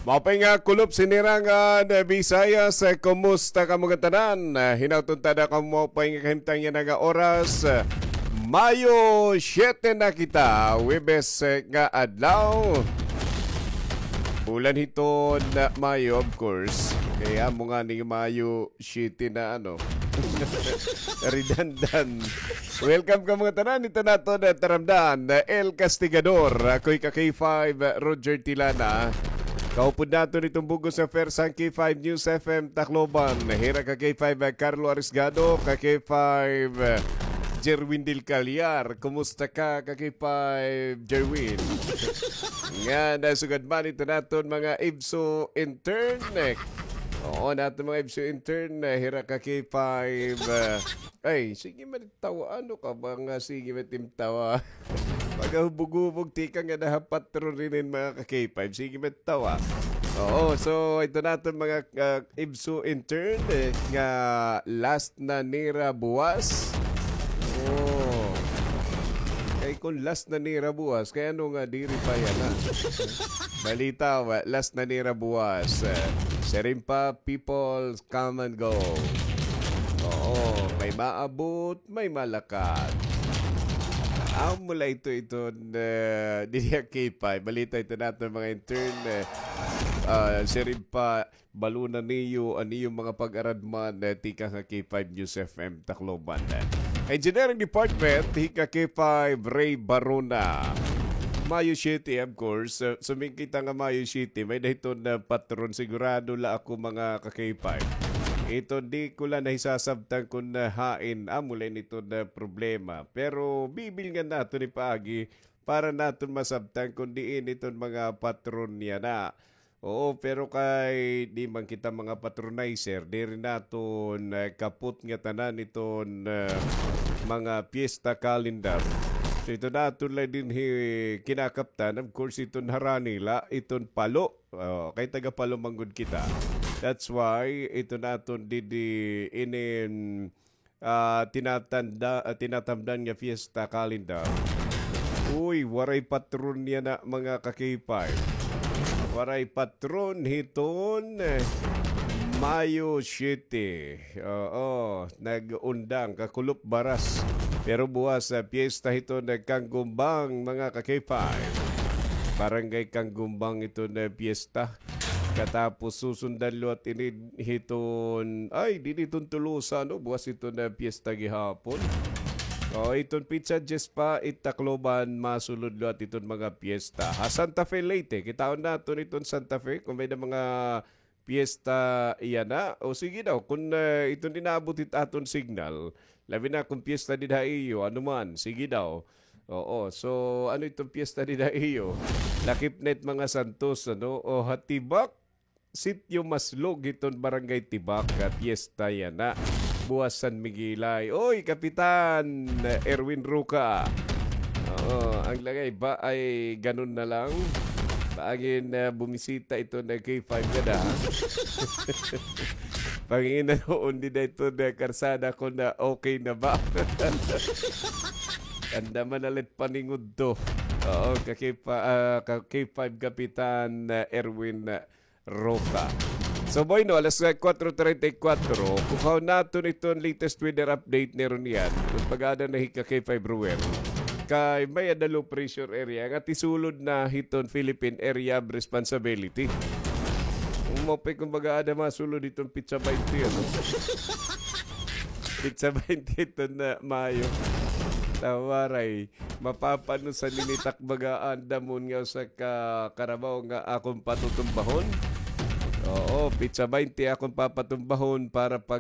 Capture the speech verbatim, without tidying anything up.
Maupay nga kulop sinirangan, eh, Visayas, eh, kumusta kamo ngatanan? Eh, hinaut unta kamo maupay nga kahimtang yana nga oras. Eh, Mayo siyete na kita, Huwebes, eh, nga adlaw. Bulan hiton, eh, Mayo, of course. Kay amo ngani Mayo siyete na, ano. Redundant. Welcome kamo ngatanan, ito naton, eh, taramdan, eh, El Castigador. Ako hi ka K five, eh, Roger Tilana. Kaupod naton iton bug-os nga pwersa han K five News F M Tacloban. Hira ka K five, eh, Carlo Arisgado, ka K five, eh, Jerwin Del Callar. Kumusta ka, ka K five Jerwin? Nga, nasugad man ito naton mga ibso intern, eh. Oo, naton mga ibso intern, eh, hira ka K five, eh. Ay, sige man tawa. Ano ka ba nga sige man tim tawa? Pagahubog-hubog, tika nga nahapat ron rin mga ka K five. Sige man tawa. Oo, so ito naton mga, ah, ibso intern, eh, nga last na nira buwas. Oh. Kay kung last na nira buwas, kay ano nga diri pa yana, ha? Balita, wa-, last na nira buwas. Eh, siring pa, people come and go. Oo, may maabot, may malakat. Amo la ito, ito, eh, diri ha K five. Balita ito naton mga intern, eh, ah, siring pa, balo na niyo an iyo mga pag-aradman, eh, tikang ha K five News F M Tacloban. Engineering Department, hi ka K five Ray Barona. Mayo siyete, of course. Uh, sumingkit nga Mayo siyete, may-ada hiton, uh, patron. Sigurado la ako, mga ka K five. Ito, di ko la nahisasabtan kun, uh, hain. Amo la ini iton, uh, problema. Pero bibilngan naton ini paagi para naton masabtan kun diin iton mga patron yana. Oo, pero kay di man kita mga patronizer, diri naton, eh, kapot ngatanan iton, eh, mga piyesta calendar. So, ito naton la dinhi kinakaptan, of course, iton harani la, iton palo. Oh, kay taga palo man gud kita. That's why ito naton didi inin ah, tinatanda, ah, tinatamdan nga fiesta calendar. Uy, waray patron yana, mga ka-K five. Waray patron hiton, eh, Mayo siyete. Oo, nag-undang, kakulop baras. Pero buwas, ah, piyesta hiton, eh, Kanggumbang, mga ka-K five. Barangay Kanggumbang iton, eh, piyesta. Katapos susundan liwat ini hiton, ay, didi hiton Tolosa, no? Buwas iton, ah, piyesta gihapon. O, iton petsa dyes pa, it Tacloban, masulod liwat iton mga piyesta. Ha Santa Fe, Leyte, kitaon naton iton Santa Fe, kun may-ada mga piyesta yana. O, sige daw, kun, ah, iton inaabot it aton signal, labi na kun piyesta dida ha iyo, ano man, sige daw. Oo, so, ano iton piyesta dida ha iyo? Lakip na it mga santos, ano? O, ha Tibac, Sitio Maslog hiton Barangay Tibac, ah, piyesta yana. Buwas San Miguelay. Oy, Kapitan Erwin Roca. Oo, ang lagay ba ay ganun na lang? Paangin, ah, bumisita ito na K five ka na, ha? Pangin na noon, di na ito na karsada ko na okay na ba? Tanda man na lit paningod to. Oo, ka K five, ah, ka K five Kapitan, ah, Erwin, ah, Roca. So, bueno, alas, ah, kuwatro treinta y kuwatro, kukaon naton iton latest weather update ni Ronian. Kun pag-ada na hi ka K five Ruel. Kay may-ada low pressure area nga tisulod na hiton Philippine Area of Responsibility. Umapay, kumbaga, ada masulod iton pitsa baynte, ano? Pitsa baynte iton, ah, Mayo. Tawaray. Mapapanusan ini tak baga an damon nga usa ka karabaw nga akon patutumbahon. Oo, pitsa baynte akon papatumbahon para pag